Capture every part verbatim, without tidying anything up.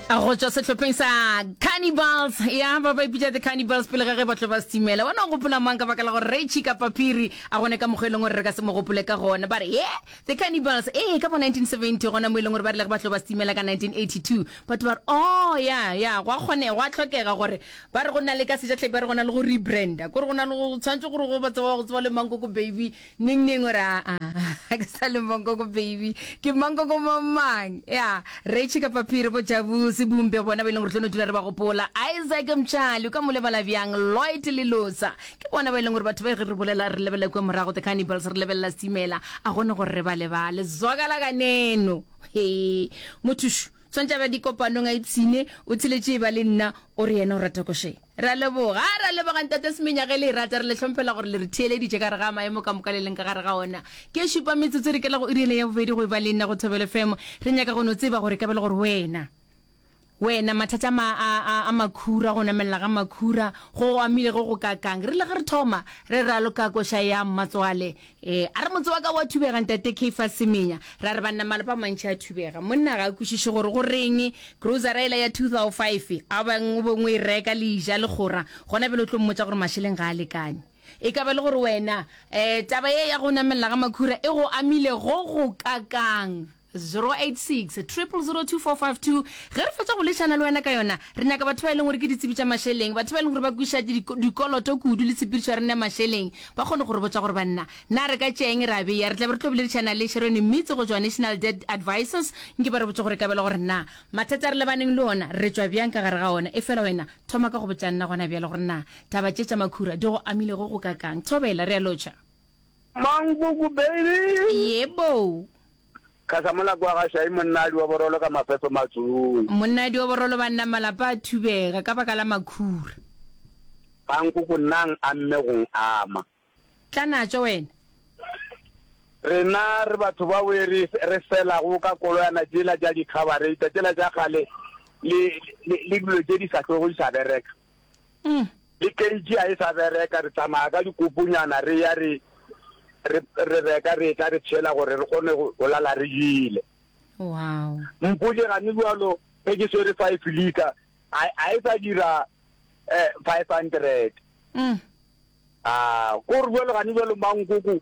Go tšwa sehlopheng sa Cannibals, ya ba ba ipitša The Cannibals pele ga ge ba tlo ba setimela. Wena o gopola mang ka baka la gore Ray Chika Paphiri a gone ka mokgwa e leng gore re ka se mo gopole ka gona. Ba re ye The Cannibals ee ka bo nineteen seventy gona mo e leng gore ba rile ge ba tlo ba setimela ka nineteen eighty two batho ba re oh ya ya gwa kgonega gwa hlokega gore ba re go na le ka sejatlhapi ba re go na le go rebranda kore go na le go tshwanetse gore go ba tseba go tseba le Mankoko Baby neng neng o re aa ga ke sa le Mankoko Baby ke Mankoko mang mang ya Rachie kapa Phiri bo Jabu Sebumpe bona ba e leng gore tlo no dula re ba gopola Isaac Mtshali o ka mo lebala bjang Lloyd Lelosa ke bona ba e leng gore batho ba ge re bolela re lebelela kua morago The Cannibals re lebelela Stimela a gone gore re ba lebale zwakala kaneno he mothušu tshwantše a ba dikopanong a ipshine o tsheletše e ba le nna o re yena o rata košeng Re a leboga. A re a leboga Ntate Semenya ge le e rata. Re le hlomphela gore le re theeleditše ka gare ga maemo ka moka le leng ka gare ga ona. Ke šupa metsotso re kela go iri yela ya bobedi go eba le nna go Thobela F M. Re nyaka go no tseba gore e ka ba le gore wena, wena mathata a ma, a, a, a makhura, go namelela ga makhura go go amile go go kakang. Re rile ge re thoma re raloka koša ya Mmatswale Ee, a re motse wa ka wa thubega, Ntate Caiphus Semenya. Ra re banna malapa a mantši a thubega. Monna ga a kwešiše gore go reng grocery yela ya two thou five a bang o beng o e reka le ja le kgora, gona bjale o tlo mmotša gore mašeleng ga a lekane. E ka ba le gore wena um taba ye ya go namelela ga makhura e go amile go go kakang? zero eight six, triple zero two four five two Ge re fetša go lešana le wena ka yona, re nyaka batho ba e leng gore ke ditsebi tša mašeleng, batho ba e leng gore ba kwešiša dikoloto kudu le tshepedišo ya rena ya mašeleng, ba kgone go re botša gore banna, na re ka tšea eng ra bea. Re tla be re tlo boledišana le Sharon Mmitsi go tšwa National Debt Advisors, nke ba re botše gore e ka ba le gore na mathata a re lebaneng le ona re tšwa bjang ka gare ga ona. Efela wena thoma ka go botša nna gona bjale gore na taba tše tša makhura di go amile go go kakang. Thobela, re a lotšha. Mangugu baby. Yebo. Khasamola kwa ga Shai monnadi wa borolo ka mafefe matsong. Monnadi wa borolo banna malapa a thubega ka baka la makhura. Mankoko nang a mme gong ama. Tla natšo wena. Rena re batho ba we re re felago ka koloyana tšela tša dikhabareita tšela tša kgale le le le dilo tše di sa hlwego di sa bereka. Le keitši ga e sa bereka, re tsamaya ka dikoponyana re ya re, re, re reka re etla re tšhela gore re kgone go, go lala re jele. Wow. Mpotše gane bjalo ge ke swere five litre, a, a e sa dira eh, five hundred. Mm. A, kore bjalo gane bjalo mankoko,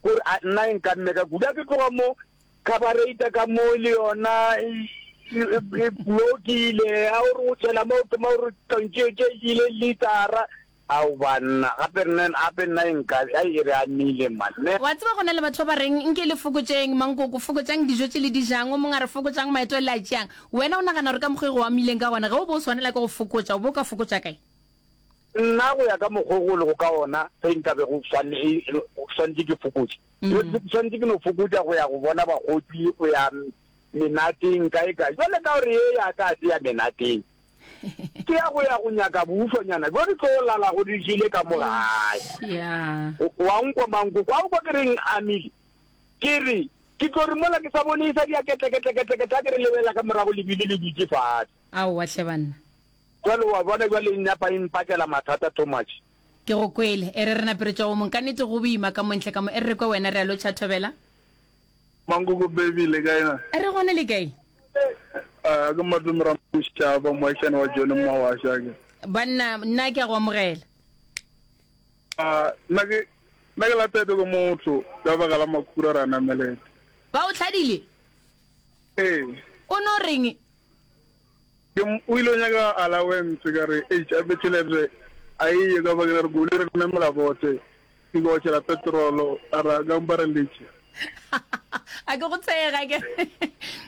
kore a nna e nkamme ka kudu. A ke tloga mo, Khabareita ka mo le yona e, e, e blokile. A o re o tšhela mo, o thoma o re tlontše tše ile litara. Ao banna, gape nna, gape nna e nka, ai e re amile man, ne. Wa tseba go na le batho ba ba reng nke le fokotšeng mankoko, fokotšang dijo tše le di jang, o mongwe a re fokotšang maeto a le a tšeang. Wena o nagana gore ka mokgwa e go amileng ka gona, ge o be o swanela ke go fokotša, o be o ka fokotša kae? Nna go ya ka mokgwa o go lego ka ona, ge nka be go swanetše ke fokotše, ke swanetše ke no fokotša go ya go bona bakgotsi, go ya menateng kae kae. Bjale ka gore ye ya ka ga se ya menateng, ke ya go ya go nyaka boufanyana bjo re tlo lalago re jele ka mo gae. Wa nkwa mankoko a o kwa ke reng amile? Ke re ke tlo re mola ke sa bone e sa dia ketle-ketle-ketle-ketle, a ke re lebelela ka morago lebili le dutše fatshe. Aowa hle banna. Jwale wa bona jwale e napa e mpakela mathata too much. Ke go kwele. E re re nape re tšwa go mong. Ka nnete go boima ka mo ntle ka mo. E re re kwe wena re a lotšha Thobela. Mankoko baby le kae na? Re gona le kae? Ah ke Matome Ramošaba moagišane wa John Mmawasha ke. Banna nna ke a go amogela. Ah nna ke nna ke latete ke motho ka baka la makhura ra namelete. Ba o hladile? Ee. O no reng? Ke o ile o nyaka allowance ka re eish a fe tšhelete a e ye ka bakeng la re koloi re namela bote ke go tšhela petrolo a ra ka mpa re letše. A ke go tshege a ke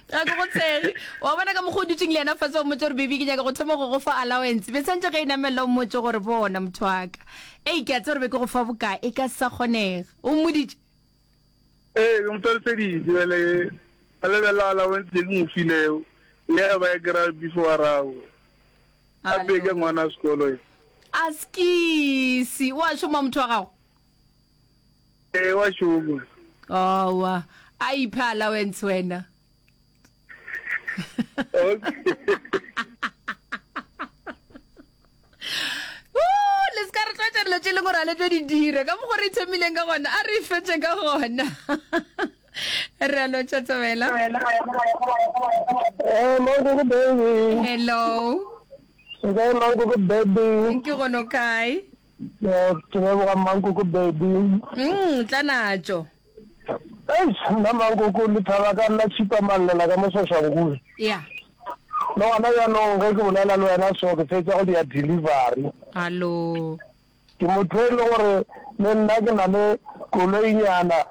ga ke go tshege wa bona ka mokgwa o dutšeng le yena fase o mmotse gore baby ke nyaka go thoma go go fa allowance be tshwantše ge e namelela o mmotse gore bona motho wa ka ei ke a tseba gore be ke go fa bokae e ka se sa kgonega o mmoditše Ee, ke mo hlaloseditše bjale a lebelela allowance ye ke mo filego le ge ba e kry-a before a rago gape ke ngwana wa sekolo ye. Askisi, o a šoma motho wa gago? Ee, wa šoma. Aowa, a iphe allowance wena. Okay. Woo, le se ka re tlwaetša dilo tše e leng gore ga le tlo di dira. Ka mokgwa re ithomileng ka gona, a re e fetše ka gona. Re a lotšha Thobela. Eh, Mankoko baby. Hello. Nkae Mankoko baby? Ke gone o kae? Eh, ke leboga Mankoko baby. Mm, tla natšo. Eish, nna Mankoko le thaba ka nna tšhipa mallela ka mo Soshanguve. Ya. Le gona bjanong ge ke bolela le wena so ke fetša go dia delivery. Hallo. Ke motho e le gore le nna ke na le koloinyana.